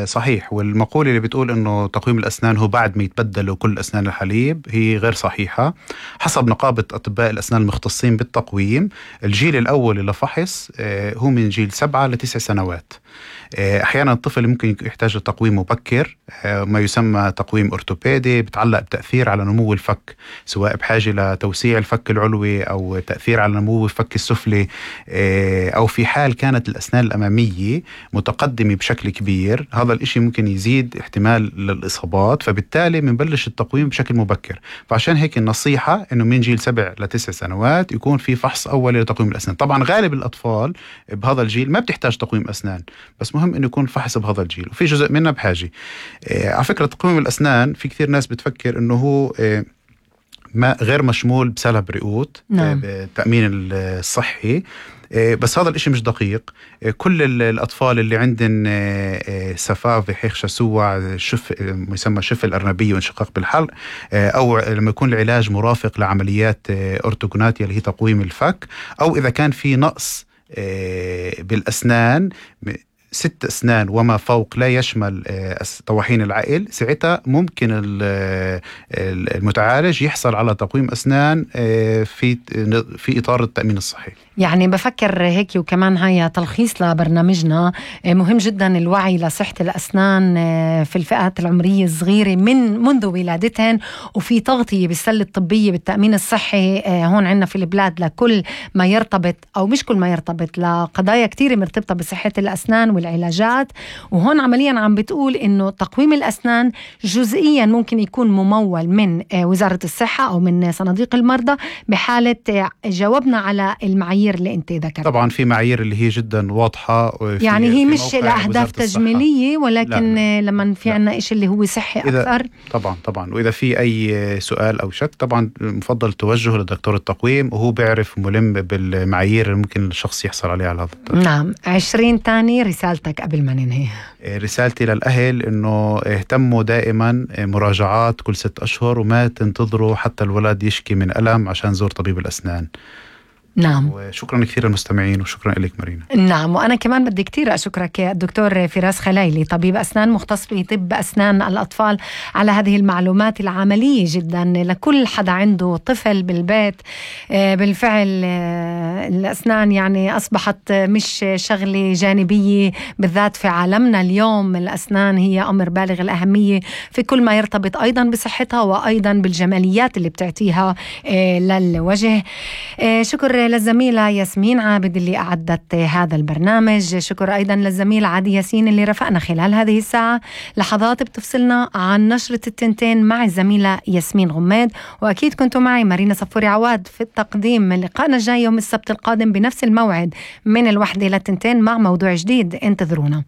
صحيح. والمقولة اللي بتقول إنه تقويم الأسنان هو بعد ما يتبدلوا كل أسنان الحليب هي غير صحيحة. حسب نقابة أطباء الأسنان المختصين بالتقويم، الجيل الأول للفحص هو من جيل 7 ل9 سنوات. أحيانا الطفل ممكن يحتاج لتقويم مبكر، ما يسمى تقويم أورتوبيدي، بتعلق بتأثير على نمو الفك، سواء بحاجة لتوسيع الفك العلوي أو تأثير على نمو الفك السفلي، أو في حال كانت الأسنان الأمامية متقدمة بشكل كبير، هذا الإشي ممكن يزيد احتمال للإصابات، فبالتالي منبلش التقويم بشكل مبكر. فعشان هيك النصيحة إنه من جيل 7 ل9 سنوات يكون في فحص أولي لتقويم الأسنان. طبعا غالب الأطفال بهذا الجيل ما بتحتاج تقويم أسنان، بس مهم إنه يكون فحص بهذا الجيل، وفي جزء منه بحاجة. على فكرة تقويم الأسنان في كثير ناس بتفكر إنه هو ما غير مشمول بسلب رئوت، نعم. بالتأمين الصحي، بس هذا الاشي مش دقيق. كل الأطفال اللي عندن سفاف بحيخ شسوع، يسمى شفة الأرنبية وانشقاق بالحلق، أو لما يكون العلاج مرافق لعمليات أورتوغوناتيا اللي هي تقويم الفك، أو إذا كان في نقص بالأسنان 6 أسنان وما فوق لا يشمل طواحين العقل، ساعتها ممكن المتعالج يحصل على تقويم أسنان في إطار التأمين الصحي. يعني بفكر هيك، وكمان هاي تلخيص لبرنامجنا، مهم جدا الوعي لصحة الأسنان في الفئات العمرية الصغيرة منذ ولادتهن، وفي تغطية بالسلة الطبية بالتأمين الصحي هون عنا في البلاد لكل ما يرتبط، أو مش كل ما يرتبط، لقضايا كتير مرتبطة بصحة الأسنان والعلاجات. وهون عمليا عم بتقول إنه تقويم الأسنان جزئيا ممكن يكون ممول من وزارة الصحة أو من صناديق المرضى بحالة جاوبنا على المعايير اللي انت ذكرت. طبعا في معايير اللي هي جدا واضحة، يعني هي مش لأهداف تجميلية، ولكن لا. لما في عنا إشي اللي هو صحي أكثر. طبعا وإذا في أي سؤال أو شك طبعا مفضل توجهه لدكتور التقويم، وهو بيعرف ملم بالمعايير اللي ممكن الشخص يحصل عليها على هذا التقويم. نعم. 20 تاني رسالتك قبل ما ننهي. رسالتي للأهل إنه اهتموا دائما مراجعات كل 6 أشهر، وما تنتظروا حتى الولد يشكي من ألم عشان زور طبيب الأسنان. نعم. وشكرا كثير للمستمعين، وشكرا لك مارينا. نعم. وأنا كمان بدي كتير أشكرك يا الدكتور فراس خلايلي، طبيب أسنان مختص في طب أسنان الأطفال، على هذه المعلومات العملية جدا لكل حدا عنده طفل بالبيت. بالفعل الأسنان يعني أصبحت مش شغلة جانبية، بالذات في عالمنا اليوم الأسنان هي أمر بالغ الأهمية في كل ما يرتبط أيضا بصحتها، وأيضا بالجماليات اللي بتعطيها للوجه. شكر للزميلة ياسمين عابد اللي أعدت هذا البرنامج. شكر أيضا للزميل عادي ياسين اللي رفقنا خلال هذه الساعة. لحظات بتفصلنا عن نشرة التنتين مع الزميلة ياسمين غماد، وأكيد كنتوا معي مارينا صفوري عواد في التقديم. لقاءنا الجاي يوم السبت القادم بنفس الموعد من 1 ل 2 مع موضوع جديد، انتظرونا.